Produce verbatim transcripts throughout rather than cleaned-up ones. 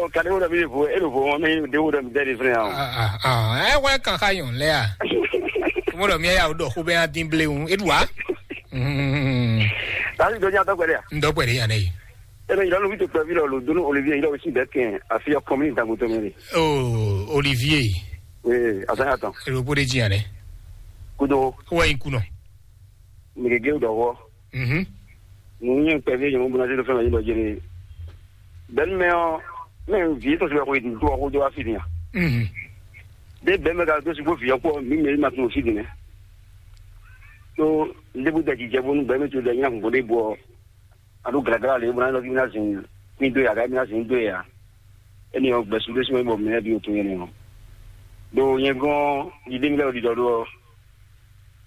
Ɔ, kadi wo ɖɔ mi ɖe vo, e ɖo vo wɔn mɛ, ɖe wo ɖɔ mi ɖe ɖe fɛnɛ a? Ah, ah, ah, ɛ wɛ kan xa yɔn lɛ a? Mo ɖɔ mi ya o ɖɔ xo bɛ ya din ble un, e ɖu a? Mm. Tasi dɔ nya tɔ gbɛdɛ a? N dɔ gbɛdɛ ya ne. E bɛ yira lu vito kpɛ vi lɔ lo donu Olivier yira o si bɛ kɛn afi ya kɔmi ni dango tɔmɛ de. Oh, Olivier. Oui, a sa ya tɔn. E ɖo bó ɖe jí ya ne. Kudo. Wɛ in kunɔ. Mɛ gěgé ɖɔ hɔ. Mhm. Nǔ nyɛ kpɛví nyɔ̌nu bó ná zé ɖó fɛn mɛ nyí ɖɔ jɛ́nɛ. Bɛ̌nu mɛ ɔ́, mɛ vǐ tɔn sibɛ xwe dó ɔ́ xójó wá fí din a? Mhm. Ɖé bɛ̌ mɛ ka dó sixú vǐ ɔ́ kpó mǐ mɛ ma tunwun fí din nɛ́. Tó ndébú dɛ jijɛ bónú bɛ̌ mɛ tó dɛ nyí ahun bó ɖé bɔ a ɖó glagla lě bó ná lɔ fí ná zin ní dó ya, ká mí ná zin ní dó ya. Énɛ́ ɔ́ gbɛ̌ sú ɖésú mɛ bɔ mɛ lɛ́ɛ bǐ ɖo tunwun nyɛ nɛ́ ɔ́. Ɖo nyɛ gɔ́n yidémi lɛ́ɛ ɖiɖɔ ɖó ɔ́,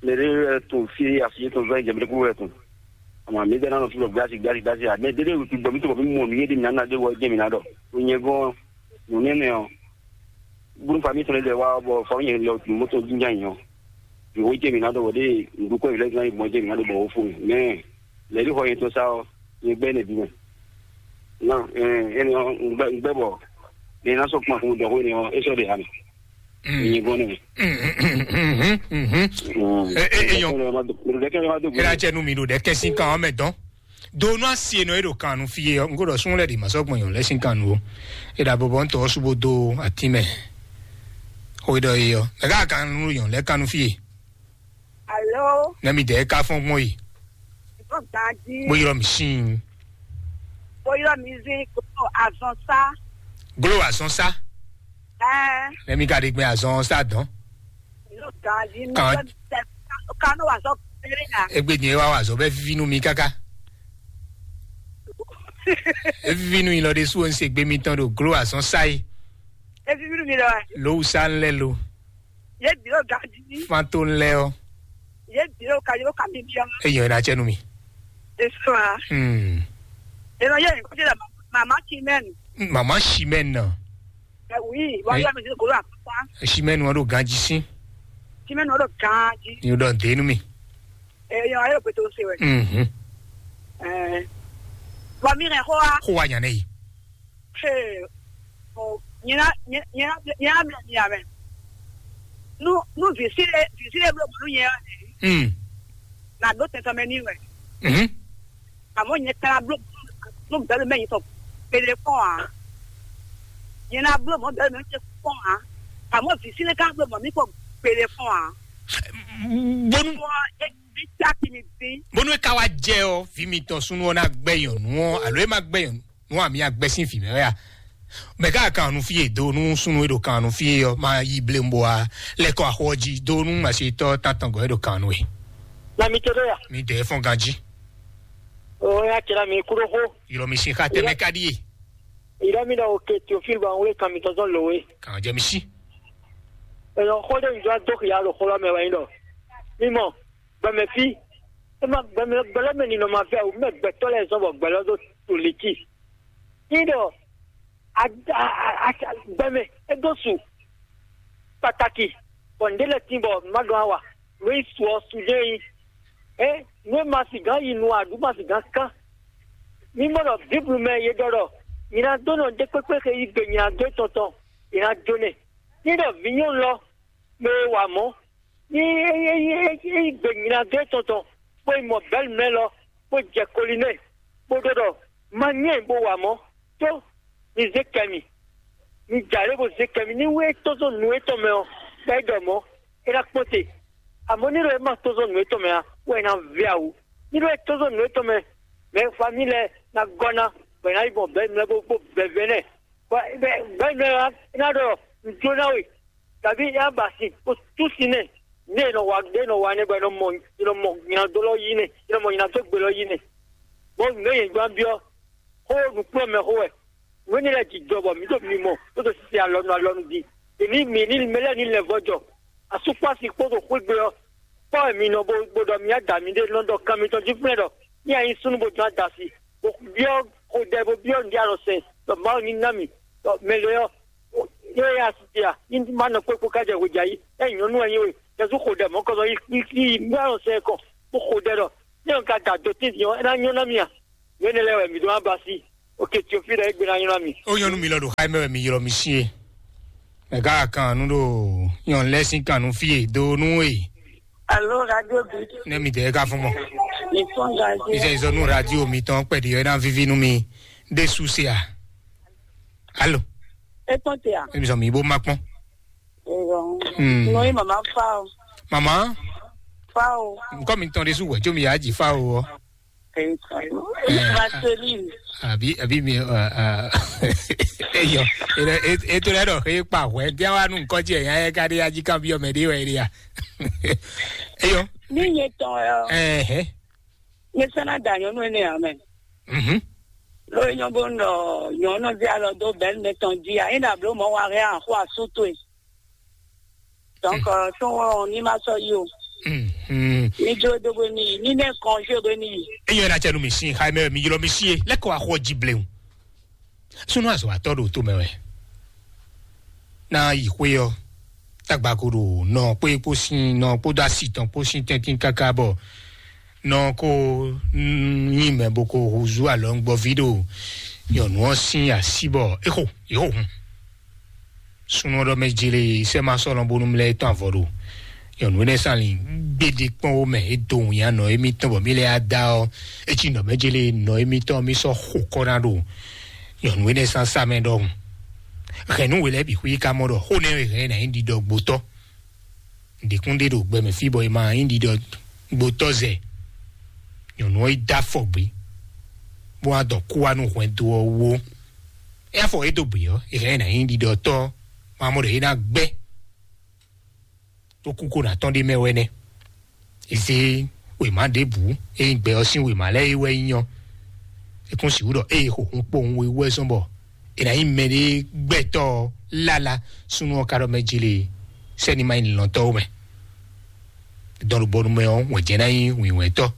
mɛ ɖé wɛ tun fí asi yětɔn zɔ́n jɛ mɛ ɖé kúrú wɛ tun. Ama mǐ dɛ ná nɔ fí bɔ gbási gbási gbási a mɛ ɖé ɖé wǔtu gbɔ mí tó bɔ mí mɔ nǔ yé ɖé mǐ ná ná ɖé wɔ jɛ mǐ ná ɖɔ. Ɖo nyɛ gɔ́n nǔ nɛ́nɛ ɔ́, búrú fa mí tɔn lɛ wá bɔ fa nyɛ lɛ mɔtɔ jínjá nyɔ. Yòówó jɛ mǐ ná ɖɔ wɔ ɖé nǔɖúkɔ yě lɛ́ zán yi gbɔn jɛ mǐ ná ɖɔ bɔ wó fó mɛ. Mɛ lɛ̌ ɖi xɔ nyɛ tɔn sá ɔ́, nyɛ gbɛ́ nɛ bí mɛ. Nɔ ɛn ɛn ɔ́, un gbɛ́ un gbɛ́ bɔ nyɛ ná sɔ́ kpɔn fún dɔxó énɛ́ ɔ́, é sɔ́ ɖe ha mɛ. Nyɛ gɔ́n nɛ. Eyɔn. Ɖɛkɛ ma dó. Ela cɛ nu mi ɖo ɖɛkɛ sín kan ɔ́ mɛ dɔn. Do nú asi e nɔ e ɖo kan nu fí e ɔ́, un ko ɖɔ sún lɛ ɖi ma sɔ́ gbɔn yɔn lɛ sín kan nu o. E ɖo abɔbɔ ŋutɔ ɔ́ sú bó dó atí mɛ. Xo e ɖɔ e ɔ́, mɛ ká kan nu yɔn lɛ kan nu fí e. Alo. Nɛ mi dɛ ka fɔn gbɔn yi. Ìbọn gbàdí. Bó yọrọ mi sín. Bó yọrọ mi sí kókó azɔn sá. Glo azɔn sá. Ẹ. Nɛ mi ka ɖe gbɛ azɔn sá dɔn. Ìbọn gbàdí. Kan. Kánú wà sọ péré yà. Egbe nyɛ wa wa zɔ bɛ vivi nu mi kaka. Evivi nu ilɔ ɖe su o n se gbe mi tɔn ɖo glo azɔn sá yi. Evivi nu mi lɔ. Lowu sá n lɛ lo. Ye biro gaji. Fan to n lɛ ɔ. Ye biro ka yo ka mi bi ɔmɔ. Eyɔ ina cɛ nu mi. Esua. Hmm. Eno ye ko jira mama chimɛn. Mama chimɛn na. Eh, oui, wa ya mi golo akpa. Chimɛn wa do ganji sin. Chimɛn wa do ganji. Ni o dɔ de nu mi. Eh, yo ayo peto se we. Mhm. Eh. Wa mi re ho a. Ho wa nyane yi. Hey, oh, nyina nyina nyina mɛ nyina mɛ. Nu nu visile visile blo blu nyɛ. Mm. Na do tɛtɛ mɛ ni wɛ. Mhm. Amo nyɛ kala blo nu bɛlu mɛ nyitɔ pele fɔn a. Nyina blo mɔ bɛlu mɛ nyitɔ fɔn a. Amo visile ka blo mɔ mi kɔ pele fɔn a. Bonu. Bɔ e bi ta ti mi bi. Bonu e ka wa jɛ ɔ vi mi tɔn sunu ɔ na gbɛ yɔn nu ɔ alo e ma gbɛ yɔn nu. Nú àmì agbɛsín vǐ mɛ wɛ a? Mɛ ká kan nu fí e do nú súnnu e ɖo kan nu fí e ɔ́, ma yí blé bó a lɛ́ kɔ axɔ jí do nú masitɔ́ tántɔn gɔ́ e ɖo kan nu e. Na mi to ɖe ya. Mi dɛ fɔn ganjí. O ya kira mi kúrò xó. Yɔrɔ mi sin xa tɛmɛ ka ɖi e. Ìrọ́ mi ɖɔ òkè Théophile bá ń wé kan mi tɔn tɔn lò wé. Kàn jẹ́ mi sí. Èèyàn xó dé ìjọ dókè yá lò xó lọ́mọ ẹ̀wẹ̀ yín lọ. Mímọ́, gbẹmẹ fí. Ẹ má gbẹmẹ gbẹlẹ́mẹ nínú ọmọ afẹ́ o, mẹ gbẹtọ́ lẹ zɔn bọ̀ gbẹlẹ́ tó tó létí. Yín ɖɔ gbɛmɛ é dó su pàtàkì bɔ ǹdé lɛ tín bɔ má dɔn àwà lóyún su ɔ su dé yín. Ɛ nú é ma sì gán yi nu àdú ma sì gán kán. Mí gbọ́dọ̀ bíblu mɛ yé ɖɔ ɖɔ nyina dó nɔ dé kpékpé xe yí gbe nyina dó tɔn tɔn nyina dó nɛ. Ní ɖɔ vǐ nyɔnu lɔ mɛ e wa mɔ̌ ní é yí gbe nyina dó tɔn tɔn bó yi mɔ bɛ̌lu mɛ lɔ bó jɛ koli nɛ bó ɖɔ ɖɔ má nyɛ bó wa mɔ̌. Tó mi zé kɛ mi, mi jǎ lé bó zé kɛ mi ní wé tɔ́ zɔn nǔ étɔn mɛ ɔ́, bɔ é ɖɔ mɔ̌ é ná kpɔ́n te. Àmọ́ ní ɖɔ é ma tɔ́ zɔn nǔ étɔn mɛ ǎ, wɛ é ná vɛ́ awu. Ní ɖɔ é tɔ́ zɔn nǔ étɔn mɛ, mɛ e fa mì lɛ́ɛ ná gɔ́ ná, bɔ è nǎ yi gbɔn bɛ̌ mɛ bó bó bɛ̌ vɛ́ nɛ́. Bɔ bɛ̌ mɛ ɔ́ é ná ɖɔ nǔjó ná we, tàbí é ná ba sin bó tú sin nɛ́. Ní è nɔ wa é nɔ wa nɛ́ bɔ è nɔ mɔ è nɔ mɔ nyinadó lɔ yí nɛ́, è nɔ mɔ nyinadó gbe lɔ yí nɛ́. Bɔ nǔ e nyɛ gbán byɔ́ xó nǔkplɔ́nmɛ xó wɛ. Nǔ énɛ́ lɛ́ɛ jijɔ bɔ mǐ ɖo mimɔ bó ɖo sise alɔnu alɔnu din. Mǐ ní mǐ ní mɛ lɛ́ɛ ní lɛ́ vɔ́ jɔ. Asúkpási kpódó xwégbe ɔ́, kpɔ́ wɛ mi nɔ bó bó ɖɔ mǐ ada mǐɖée nɔ ɖɔ kan mitɔn jí flɛ́ ɖɔ ní a nyí súnnu bó dɔn adasi, bó byɔ́ xodɛ bó byɔ́ nǔɖé alɔ sɛn ɖɔ Mawu ní ná mì ɖɔ mɛ lě ɔ́, é yɛ asi ce a? Ní ma nɔ kpékpó ká jɛ hwejà yí. É nyɔ̌nu wɛ nyí we, Jezu xodɛ mɔ̌kɔzɔ yí yí yí nǔɖé alɔ sɛn kɔn bó xodɛ ɖɔ ní ɔ́ ka da dǒ tɛ́ntin ɔ́, é ná nyɔ́ ná mì a? Nǔ énɛ́ lɛ́ɛ wɛ mǐ ɖó ná ba sí. Ok, Tiofi ɖe egbe na nylɔ mi. Ó nyɔnu mi lɔ ɖo xá mɛ wɛ mi ylɔ mi sín e. Mɛ ká kan nú ɖo nyɔnu lɛ sín kan nú fí e do nú e. Alo, radio bi. Ne mi dɛ ka fún mɔ. Mi fún radio. Mi sɛ izɔ nú radio mi tɔn kpɛɖi ɛ na vivi nú mi. De su se a. Alo. E tɔn te a. E mi sɔ mi bo ma kpɔn. Eyɔ. Hmm. No ye mama fa o. Mama. Fa o. Nkɔ mi tɔn de su wɛ jo mi ya ji fa o. Eyɔ. Vaseline. Àbí àbí mi ẹ ẹ eyɔ. Ètò rẹ dọ̀ xé pa wẹ́ díẹ̀ wá nù nkọ́ jẹ́ ẹ̀yà ẹ̀ ká dé ají kan bí ọmọ ẹ̀dí wẹ̀ ẹ̀dí ya. Eyɔ. Ní yẹn tán ẹ. Ẹ̀hẹ́. Ní sẹ́nà dà nyɔnú ẹ̀ ní àmẹ́. Mhm. Lórí nyɔnbó nɔ nyɔnú dí alɔ dó bẹ́ẹ̀ ní tɔn jí a yín dàbí ó mọ̀ wá rẹ́ àkó àsútó ẹ̀. Donc, euh, tó wọn ní ma sọ yìí o. Mhm. Ní jó dó bó ní yìí, ní nẹ́ kan jó bó ní yìí. Eyɔ na cɛ nu mi sin xa mɛ mi ylɔ mi si ye lɛkɔ axɔ ji blewu. Sunu azɔ atɔ ɖo to mɛ wɛ. Na yi xwe ɔ, tagbako ɖo nɔ kpé kpó sin nɔ kpódó asi tɔn kpó sin tɛntin káká bɔ nɔ kó nyi mɛ bó kó húzú alɔngbɔví ɖo nyɔnu ɔ́ sín así bɔ é xo yě xo hun. Súnnu ɔ́ ɖɔ mɛ jele sɛ́ ma sɔ́ lɔn bónú mlɛ́ tɔn avɔ ɖo nyɔnu énɛ́ sán lin gbéɖé kpɔ́n wó mɛ é do wǐnyanɔ émítɔn bɔ mí lɛ́ yá da ɔ́, é cí nɔ mɛ jele nɔ émítɔn mí sɔ́ xo kɔ ná ɖo nyɔnu énɛ́ sán sá mɛ ɖɔhun. Hɛ̌nnu we lɛ́ɛ bǐ xwí ka mɔ ɖɔ xó nɛ́ wɛ hɛn ná nyí ɖiɖɔ gbotɔ́. Ɖěkúnɖé ɖo gbɛmɛ fí bɔ è ma nyí ɖiɖɔ gbotɔ́ zɛ. Nyɔ̌nu ɔ́ yi dó afɔ gbé, bó wá dɔ kú wá nú hwɛndo ɔ́ wú ó. É afɔ é dó gbě ɔ́, è hɛn ɛ ná nyí ɖiɖɔtɔ́, ma mɔ ɖɔ é ná gbɛ́. Tó kú kó ná tɔ́n ɖé mɛ wɛ nɛ́. È zé wěma ɖěbǔ, é nyí gbɛ ɔ́ sín wěma lɛ́ɛ é wɛ nyí ɔ́. É kún sixú ɖɔ ée xo hun kpowun we wú wɛ zɔ́n bɔ è nǎ nyí mɛɖé gbɛtɔ́ ɔ́ lála súnnu ɔ́ ka ɖɔ mɛ jlé sɛ́ni ma nyí lɔ̌ntɔ́ ó mɛ. Dɔn ɖo bɔnu mɛ ɔ́, wɛn jɛ ná nyí wǐnwɛntɔ́.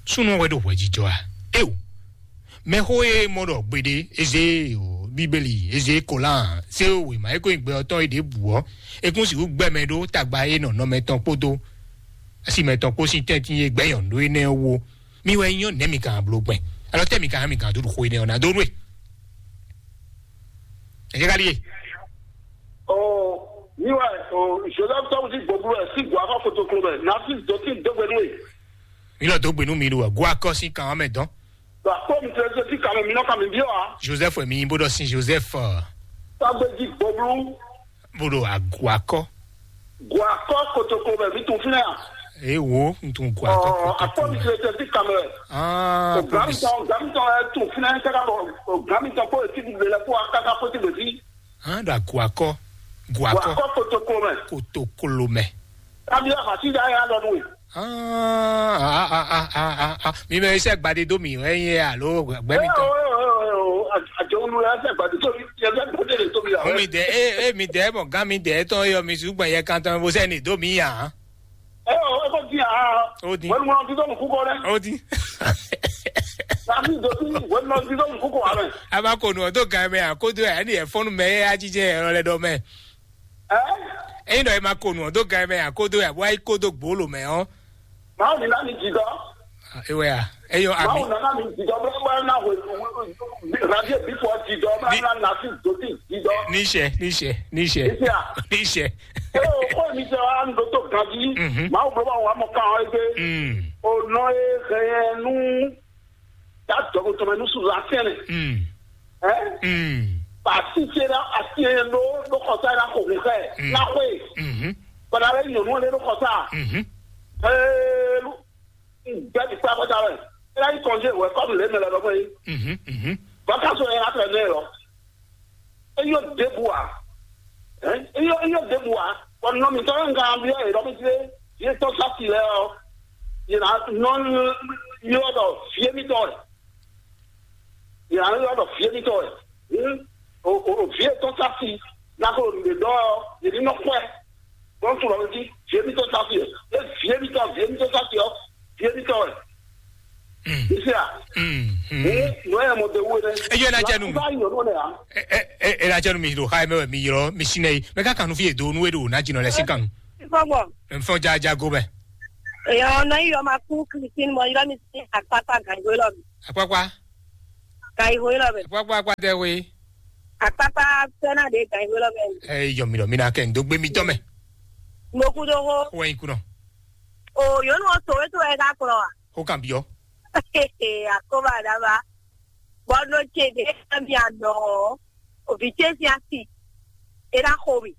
Súnnu ɔ́ wɛ ɖo hwɛjijɔ a? Éeǒ! Mɛxó e mɔ ɖɔ gbeɖé, Ezée, Bíbélì, Ezée, Kolán, zé wěma e ko nyí gbɛ ɔ́ tɔn é ɖěbǔ ɔ́, é kún sixú gbɛ mɛ ɖó tagba e nɔ nɔ mɛtɔn kpódó asi mɛtɔn kpó sín tɛ́ntin e gbɛ́ nyɔ̌nu ɖó énɛ́ ɔ́ wú ó. Mi wɛ nyí ɔ́, nɛ̌ mi ka bló gbɛn? Alɔ tɛ́ mi ka mi ka dó ɖo xó énɛ́ ɔ́ ná dó nú e? Ɛ jẹ́ ká ɖíe. Ɔ, mi wɛ, ɔ, Joseph tɔgbuti gbɔgblu wɛ si gbɔ akɔ kotoklo mɛ, na si dɔti dɔgbe nú e. Mi lɔ dó gbe nú mi ɖo go akɔ sín kan ɔ́ mɛ dɔn. Ba kpɔ mi tɛ si kan mɛ mi nɔ ka mi biɔ a. Joseph wɛ mi nyí bó ɖɔ sin Joseph. Tɔgbuti gbɔgblu. Bó ɖo agu akɔ. Go akɔ kotoklo mɛ mi tun fínɛ a. Ee wo, n tun go akɔ kotoklo mɛ. Akpɔ mi tɛ si kan mɛ. Ah, Gami tɔn, Gami tɔn ɛ tun fínɛ kaka bɔ Gami tɔn kó eti bi lɛ kó akaka kó ti bɛ fi. Hã ɖo agu akɔ, gu akɔ. Wà á kọ́ kotokolo mɛ. Kotokolo mɛ. Tàbí àfàtì dá yà lọ nù. Ah, ah, ah, ah, ah, ah. Mi mɛ iṣẹ́ gbadé dó mi, ẹ yẹ alo gbẹ́mi tán. Àjọ olùrẹ́ ẹsẹ̀ gbadé tó mi, ẹsẹ̀ gbadé lè tó mi yà. Ó mi dẹ̀, é, é mi dẹ̀ mọ̀ gán mi dẹ̀ tán yọ mi ṣùgbọ́n yẹ kan tán bó sẹ́ni dó mi yà. Ẹ ò, ẹ kò di àá. Ó di. Wọ́n mú ọtí tó mú kúkọ rẹ. Ó di. Tàbí ìdòtí, wọ́n mú ọtí tó mú kúkọ rẹ. A máa kó nu ọ̀dọ́ gan mẹ́ àkójọ ẹ̀ ní ẹ̀fọ́nú mẹ́ ẹ̀ á jíjẹ́ ẹ̀rọ lẹ́dọ̀ mẹ́. Ẹ́? Ẹ̀yin náà ẹ máa kó nu ọ̀dọ́ gan mẹ́ àkójọ ẹ̀ wáyé kódó gbòólò mẹ́ ọ́. Màá ní láti jì dọ́. Ewé à, ẹ̀yọ àmì. Màá ní láti jì dọ́, bẹ́ẹ̀ bá náà wò, rádíò bí fọ́ jì dọ́, bá náà láti dòtí jì dọ́. Níṣẹ́, níṣẹ́, níṣẹ́. Níṣẹ́ à? Níṣẹ́. Ẹ o, kó mi sọ wá ń dótó ganjí. Mhm. Màá wò bá wà mọ̀ ká wọn gbé. Mm. Ọ̀nà ẹ̀ hẹ̀yẹ̀ nú. Dá dɔgɔtɔmɛ nú sùn lásìrìn. Mm. Ɛ? Mm. Pàṣípàṣẹ la àti ẹ̀ ló ló kọ̀tà la kò hùn kẹ́. Mm. Lápò yìí. Mhm. Bọ̀dá rẹ̀ yàn wọ́n lé ló kọ̀tà. Mhm. Ẹ ló gbẹ́ ti pẹ́ kọjá rẹ̀. Ẹ láyé kọ̀ọ̀jẹ́ ìwẹ̀ kọ́ọ̀dù lé mẹ́lẹ̀ lọ́mọ yìí. Mhm, mhm. Bàtà sọ yẹn láti ẹ̀ lé lọ. Eyɔ ɖěbǔ ǎ. Ɛ? Eyɔ, eyɔ ɖěbǔ ǎ. Bɔ nɔ mǐtɔn e un ka byɔ́ yě ɖɔ mì jí é, yě tɔ́ sá si lɛ́ɛ ɔ́, yě ná nɔ ylɔ́ ɖɔ vǐ émítɔn wɛ. Yě ná ylɔ́ ɖɔ vǐ émítɔn wɛ. Hǔn, o, o, o, vǐ e tɔ́ sá si, ná ko ɖe ɖɔ ɔ́, yě ní nɔ kpɔ́ ɛ. Bɔ un tunwun ɖɔ mì jí, vǐ émítɔn sá si wɛ. É vǐ émítɔn, vǐ émítɔn sá si ɔ́, vǐ émítɔn wɛ. Mm. Isia. Mm, mm. Ee, nɔ yɛ mɔ de wu ne. Eyɔ na jɛ nu. Ba yɔ no ne ya. E, e, e, e na jɛ nu mi ɖo xa mɛ mi ylɔ mi si nɛ yi. Mɛ ka kanu fi e do nu e ɖo na jinɔ lɛ si kanu. Ifɔ bɔ. Mɛ fɔ ja ja go mɛ. Èèyàn ọ̀nà yìí ọmọ akú Christine mọ irọ́ mi sí àpápá gàngbé lọ mi. Àpápá. Gàngbé lọ mi. Àpápá àpáta ẹ̀wé. Àpápá fẹ́ràn dé gàngbé lọ mi. Ẹ yọ mi lọ mi na kẹ́ ń dó gbé mi tọ́ mẹ́. Mo kú dó hó. Ó wẹ̀ yín kú náà. O yóò nù ọ̀sọ̀ wé tó ẹ ká kúrọ̀ wa. Ó kàn bí ọ. Àkóbá àdábá. Bɔ́ nɔ ce ɖě ná mi anɔ ɔ́, òvǐ ce sín asi é ná xo mì.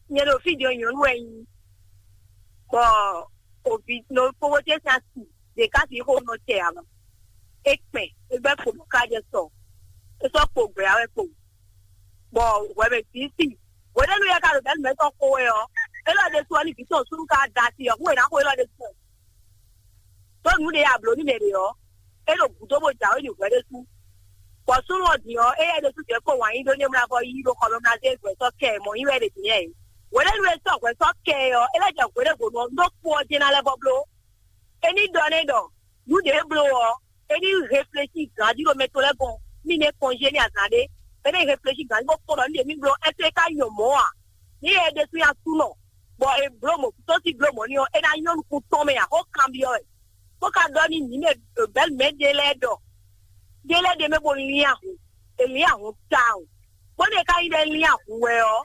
Nyɛ ɖo fí din ɔ́, nyɔ̌nu wɛ nyí. Bɔ òvǐ nɔ kpókpó ce sín asi ɖě ká sixú nɔ tɛ ǎ mɛ. É kpɛn, é gbɛ́ kpo bɔ ká jɛ sɔ. É sɔ́ kpo gbɛ̌ ǎ wɛ kpo. Bɔ hwɛ mɛ bǐ sin. Hwenɛ́nu yɛ ka ɖo bɛ̌ nǔmɛtɔn xo wɛ ɔ́, élɔ́ ɖésú ɔ́ ní vǐ tɔn súnnu ka da asi ɔ́, hú è nǎ xo élɔ́ ɖésú ɔ́. Ɖó nǔ ɖě a blǒ nú mɛ ɖě ɔ́, é ɖo gǔdo bó jǎwe nyi hwɛ ɖésú. Bɔ súnnu ɔ́ din ɔ́, éyɛ́ ɖésú jɛ kó wǎn yí ɖó ní é mlá bɔ yí ɖó xɔ mɛ mlá dó é hwɛ sɔ́ kɛ ɛ mɔ̌ yí wɛ ɖě din yɛ é. Hwenɛ́nu e sɔ́ hwɛ sɔ́ kɛ ɛ ɔ́, é lɛ́ jɛ hwěɖěvonu ɔ́, ɖó kpo ɔ́ jɛ́n ná lɛ́ vɔ bló. É ní ɖɔ nɛ́ ɖɔ nǔ ɖě é bló ɔ́, é ní réfléchi gǎn jí ɖo mɛ tɔn lɛ́ɛ gɔ́n, mí ní kɔnjé ní azǎn ɖé. É ní réfléchi gǎn jí bó kpɔ́n ɖɔ nǔ ɖě mí bló, ɛ́ é ka nyɔ mɔ̌ a? Ní é ɖésú nyí asúnɔ, bɔ è bló mɔ̌ tó sí bló mɔ̌ ní ɔ́, é ná nyɔ́ nukún tɔn mɛ ǎ, xó kanbyɔ́ wɛ. Bó ka ɖɔ ní mǐ mɛ bɛ̌ mɛ ɖé lɛ́ɛ ɖɔ ɖé lɛ́ɛ ɖe mɛ bó lín ahun, è lín ahun tawun. Bónú è ka nyí ɖɔ é lín ahun wɛ ɔ́,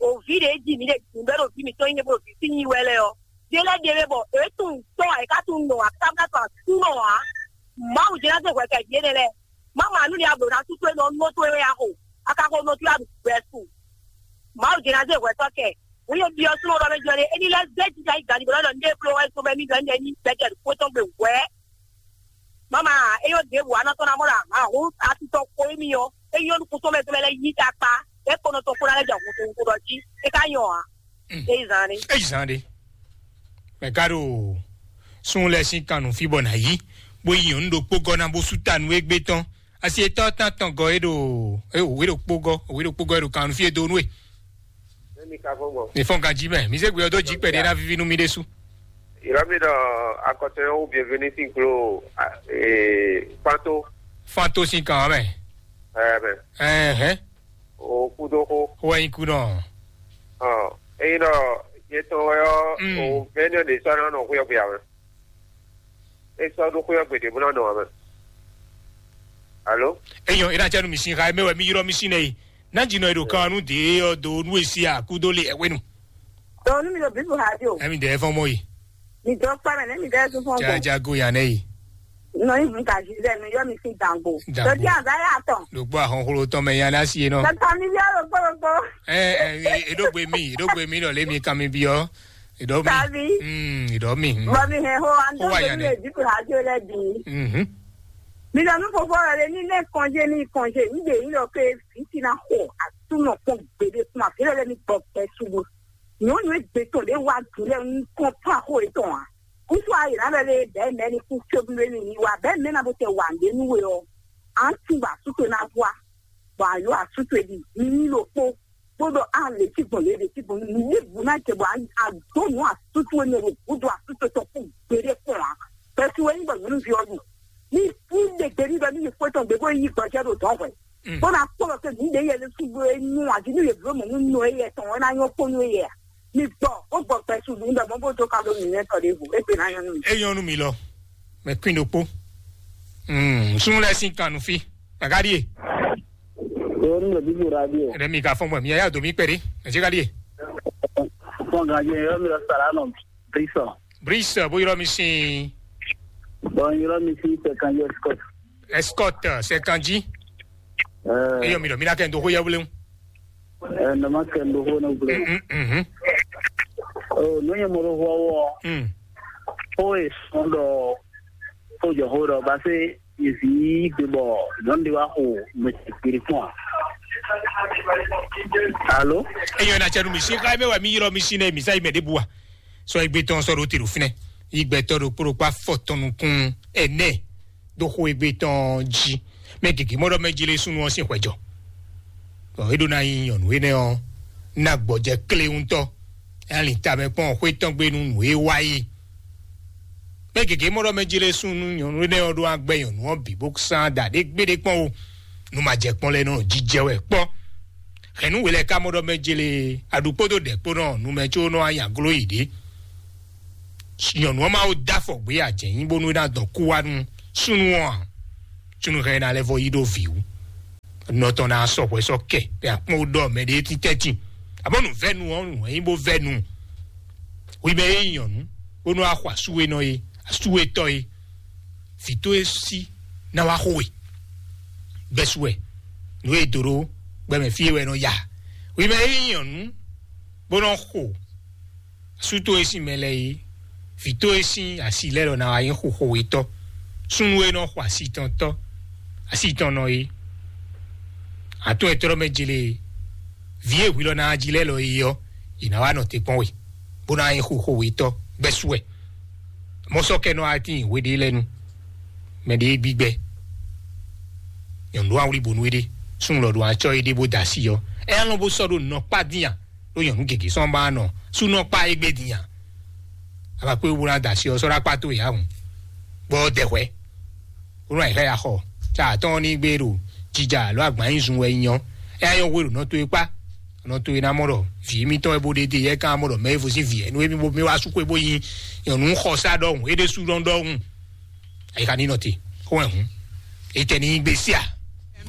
o vǐ ɖě jí mǐ ɖe dǐndɔ́ ɖo vǐ mǐtɔn nyí bó ɖo vǐ sí nyi wɛ lɛ́ɛ ɔ́, ɖé lɛ́ɛ ɖe mɛ bɔ é tunwun tɔ́ ǎ, é ka tunwun nɔ ǎ, káká to asúnɔ ǎ. Mawu jɛ ná zé hwɛ kɛ vǐ énɛ́ lɛ́ɛ. Má ma nú ni a blǒ ná sú towe nɔ nɔ towe wɛ a xo, a ka xo nɔ towe a ɖu gbɛ su. Mawu jɛ ná zé hwɛ tɔ́ kɛ. Wǔ yě byɔ́ súnnu ɖɔ mɛ jɔ ɖe, é ní lɛ́ zé jija yi gǎn ní blɔ́ ɖɔ ndé bló wɛ sɔmɛ mí ɖɔ ndé ní gbɛjɛ ɖo kpótɔn gbe hwɛ̌. Mama, é yó ɖěbǔ a nɔ tɔn ná mɔ ɖo ahǎ hú atitɔ xo émí ɔ́, é nyɔ́ nú kútɔ́ mɛ tɔn mɛ lɛ́ɛ yí ta kpá, é kɔnɔ tɔn kó ná lɛ́ jɛ hun to hun to ɖɔ jí, é ka nyɔ ǎ. É yi zán ɖé. É yi zán ɖé. Mɛ ka ɖo sun lɛ sín kan nǔ fí bɔ nǎ yí, bó yi nyɔ̌nu ɖokpó gɔ́ ná bó sú ta nú égbé tɔn. Asi etɔ́ tán tɔn gɔ́ é ɖo é wě ɖokpó gɔ́, wě ɖokpó gɔ́ é ɖo kan nú fí e dó nú é. Ní mi ka fɔ́n gbɔ. Mi fɔ́n ganjí mɛ, mi zé gbé ɔ́ dó jí kpɛɖé ná víví nú mi ɖésú. Ìrọ́mí ɖɔ akɔtɔn ɔ́ wú bienvenu sín glo Fanto. Fanto sín kan ɔ́ mɛ. Ɛɛ mɛ. Ɛhɛn. O kúdó xó. Wɔ nyi kú nɔ. Ɔ eyi ɖɔ yetɔn wɛ ɔ́ Mm. O mɛnɛ ɖe sɔ́ nɔ nɔ xúyɔ́gbé ǎ mɛ. É sɔ́ ɖó xúyɔ́gbé ɖě bó nɔ nɔ ǎ mɛ. Alo. Eyɔn, ina cɛ nu mi sin xa mɛ wɛ mi yrɔ mi sin nɛ yi. Ná dzi nɔ yi ɖo kan nu de ɔ do nu esi a kúdó le ɛwé nu. Dɔnku mi ɖo bibu ha di o. Ɛmi dɛ fɔn mɔ yi. Mi dɔ kpɛ mɛ ne mi dɛ tún fɔn Jaja go yan nɛ yi. Nɔ yi bu gazi dɛ mi yɔ mi si dangbo. Dangbo. Dɔdi aza ya tɔn. Ɖo gbɔ ahɔnxlo tɔn mɛ yan na si nɔ. Tata mi yɔ ɖo kpɔlɔkpɔ. Ɛ ɛ eɖo gbe mi eɖo gbe mi lɔ le mi kan mi bi ɔ. Eɖo mi. Tabi. Mm, eɖo mi. Bɔ mi hɛn ho an Ho wa dɔn yan mi nɛ. Lɛ bibu ha di o lɛ bi. Mhm. Mi lɔ nu fofo lɛ ni ne kɔnje ni kɔnje n de yi lɔ ke fi ti na xɔ atunɔ kpɔn gbede kuma fi lɛ ni gbɔ pɛ sugu. Nyɔnu egbe tɔn ɖe wa du lɛ n kɔn pa xo etɔn a. Kusu ayi na lɛ le bɛ mɛ ni ku kebule ni ni wa bɛ mɛ na bo tɛ wa nde nu we ɔ. An tun ba su to na bua. Bɔ a yɔ asu to di ni ni lo kpo. Kpódɔ a lě tí gbɔn lě ɖě tí gbɔn ní bu ná jɛ bɔ a dó nǔ asútú énɛ́ ɖo gǔdo asútú tɔn kú gbeɖé kpɔn ǎ. Bɛ́sú wɛ nyí bɔ nyɔ̌nuví ɔ́ ɖu. Ní ní ɖe gbe ní ɖɔ ní yi xwé tɔn gbe bó yi gbɔjɛ́ ɖo dɔ̌n hwɛ. Bó ná kpɔ́ ɖɔ pé nǔ ɖě yɛ lé sú bló é nyú ǎ jí ní yě bló mɔ̌ nú nɔ éyɛ tɔn wɛ ná nyɔ́ kpó nú éyɛ ǎ. Mi gbɔ bó gbɔ bɛ́sú nǔ ɖɔ mɔ̌ bó dó ka ɖó nǔnywɛ́ tɔn ɖěvo é gbe ná nyɔ́ nú mi. É nyɔ́ nú mi lɔ, mɛ kwín ɖokpó. Mm, súnnu lɛ́ɛ sín kan nú fí. Gǎgá ɖíe. Yóò ní lè bíbí radio. Ɛnɛ mi ka fɔn bɔ mi yà dó mi kpɛɖé. Ɛsɛ ka ɖíe. Fɔn gàdí yẹn yóò mi lọ sàrà nọ bísọ. Bris bó yɔrɔ mi sin. Bɔn yóò mi sí sẹkànjẹ scott. Escort sɛkanji. Eyɔ mi lɔ mi na kɛ n do xó yɛ wléwu. Ɛ nɔ ma kɛ n do xó ne wléwu. Mhm. O nu yɛ mo do xó wɔ. Mm. Xó e sɔn dɔ xó jɔ xó dɔ ba se Yezu gbe bɔ nyɔnu ɖé wá xo mɛ kpiri kpɔn a? Alo? Eyɔ na cɛ nu mi si xa mɛ wa mi yɔrɔ mi si nɛ mi sa yi mɛ ɖe bua. Sɔ egbe tɔn sɔ ɖo te ɖo finɛ. Yi gbɛtɔ ɖo kpó ɖo kpá fɔ tɔn nukun ɛnɛ ɖo xo egbe tɔn jí. Mɛ gěgé mɔ ɖɔ mɛ jí lé súnnu ɔ́ sín hwɛjɔ. Bɔ é ɖó ná nyí nyɔ̌nu énɛ́ ɔ́ ná gbɔjɛ klé ŋutɔ. É ná lin tamɛ kpɔ́n xwé tɔn gbe nú nǔ e wa é. Mɛ gěgé mɔ ɖɔ mɛ jí lé súnnu nyɔ̌nu énɛ́ ɔ́ ɖó agbɛ́ nyɔ̌nu ɔ́ bǐ bó sán da ɖě gbéɖé kpɔ́n o. Nu ma jɛ kpɔ́n lɛ́ɛ nɔ jijɛ wɛ kpɔ́. Hɛ̌nnu we lɛ́ɛ ka mɔ ɖɔ mɛ jí lé aɖu kpódó ɖɛ̌ kpó nɔ nu mɛ có nɔ anya gló yi ɖě. Nyɔ̌nu ɔ́ ma wo dó afɔ gbé ajɛ̌nyi bónú é ná dɔn kú wá nú súnnu ɔ́ ǎ. Súnnu hɛn ná lɛ́ vɔ yí ɖó vǐ wú. Nɔ tɔn ná sɔ hwɛ sɔ kɛ bɛ akpɔn ɖɔ mɛ ɖé ti tɛ́ntin. Abɔ nǔ vɛ́nu ɔ́ nǔ wɛ nyí bó vɛ́nu. Wi mɛ é nyɔ̌nu bónú axɔ asúwénɔ é, asúwétɔ́ é, vǐ tó é sí ná wá xo we. Bɛ́sú wɛ nǔ e dó ɖó gbɛmɛ fí é wɛ nɔ ya. Wi mɛ é nyɔ̌nu bó nɔ xo asú tó é sín mɛ lɛ́ɛ é, vǐ tó é sín asi lɛ́ɛ lɔ ná wá nyí xo xo wetɔ́. Súnnu e nɔ xo asi tɔn tɔ́, asi tɔn nɔ é, atún e tlɔ́ mɛ jele é, vǐ e hwi lɔ ná jí lɛ́ɛ lɔ é ɔ́, yě ná wá nɔ te kpɔ́n we, bó ná nyí xo xo wetɔ́. Bɛ́sú wɛ mɔ̌ sɔ́ kɛ nɔ wá tín hwe ɖé lɛ́ɛ nu. Mɛ ɖé gbígbɛ. Nyɔ̌nu ɖó awlí bonu éɖé, súnnu lɔ ɖó acɔ éɖé bó da asi ɔ́, ɛ alɔn bó sɔ́ ɖó nɔkpá dín a? Ɖó nyɔ̌nu gěgé sɔ́ ba nɔ súnɔkpá égbé dín a? Abakpé bó ná da asi ɔ́ sɔ́ ɖó akpá tó yǎ hùn, bɔ dɛhwɛ bó nɔ ayǐ xá ya xɔ. Tsa atɔ́ ní gbé ɖo jija alo agban nyi zun wɛ nyɔ. Ɛ ayɔ hwe ɖo nɔ towe kpá, nɔ towe ná mɔ ɖɔ vǐ émítɔn wɛ bó ɖe dé yɛ ká mɔ ɖɔ mɛ evo sín vǐ ɛ nú émí bó mɛ wá sú xwé bó nyi nyɔ̌nu xɔsá ɖɔhùn é ɖésú ɖɔhùn. Ayi ka ní nɔ te xó wɛ hǔn. Etɛ ní gbé sí a?